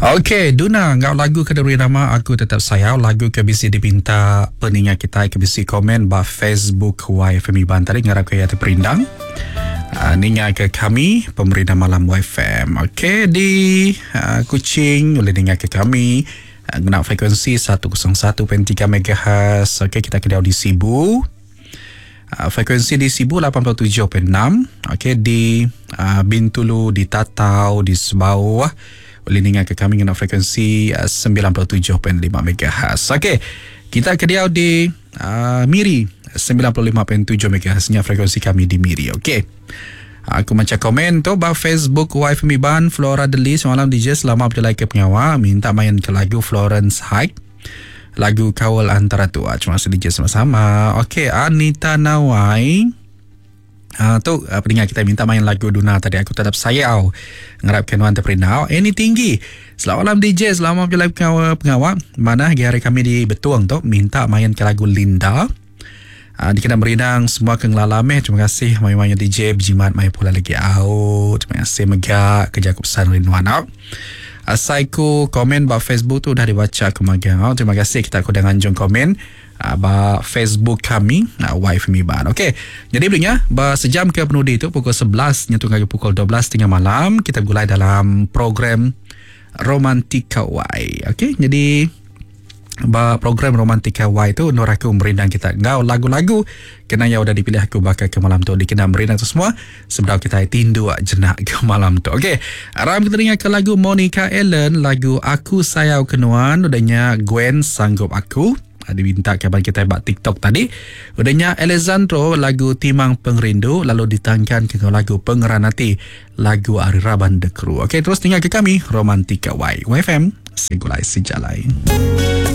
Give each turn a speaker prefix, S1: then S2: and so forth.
S1: Okey, Duna enggau lagu ke diberi nama Aku Tetap Sayau, lagu ke bisi dipinta peninga kitai ke bisi komen ba Facebook YFM Iban tadi ngarapka iya teperindang. Uh, ninga ke kami pemerindang malam YFM. Okey, di uh, Kuching boleh ninga ke kami uh, ngena frekuensi 101.3 MHz. Okey, kita ke di Sibu. Uh, frekuensi di Sibu 87.6. Okey, di uh, Bintulu, di Tatau, di Sebauh boleh ninga ke kami ngena frekuensi uh, 97.5 MHz. Okey, kita ke diau di uh, Miri 95.7 MHz nya frekuensi kami di Miri. Okey. Aku macha komen tu ba Facebook Wife Miban Flora Deli semalam DJ selama berjalai ke pengawa minta main ke lagu Florence Hike lagu Kawal Antara Tua. Terima kasih DJ sama-sama. Okey, Anita Nawai. Uh, tu uh, pendengar kita minta main lagu Duna tadi aku tetap sayau ngarapkan nuan terperindau ini tinggi selamat malam DJ selamat berjalan pengawal pengawal mana hari kami di Betuang tu minta main ke lagu Linda uh, dikena merindang semua ke ngelala meh terima kasih main-main DJ berjimat main pula lagi au terima kasih mega kerja aku pesan rinduan au Asai ku komen ba Facebook tu udah dibacha aku magang. Oh, terima kasih kita aku udah nganjung komen uh, ba Facebook kami uh, Wife Miban. Okey. Jadi belinya ba sejam ke penudi tu pukul 11 nyentuk ngagai pukul 12.30 malam kita begulai dalam program Romantika Y. Okey, jadi Ba program Romantika Y tu endur aku merindang kita enggau lagu-lagu kena iya udah dipilih aku baka ke malam tu dikena merindang tu semua sebedau kitai tinduk jenak ke malam tu. Okey, aram kita ninga ke lagu Monica Ellen lagu Aku Sayau Ke Nuan udah nya Gwen Sanggup Aku diminta kaban kitai ba TikTok tadi. Udah nya Alessandro lagu Timang Pengerindu lalu ditangkan ke enggau lagu Pengeran Ati lagu ari raban The Crew. Okey, terus ninga ke kami Romantika Y. YFM. Segulai Sejalai.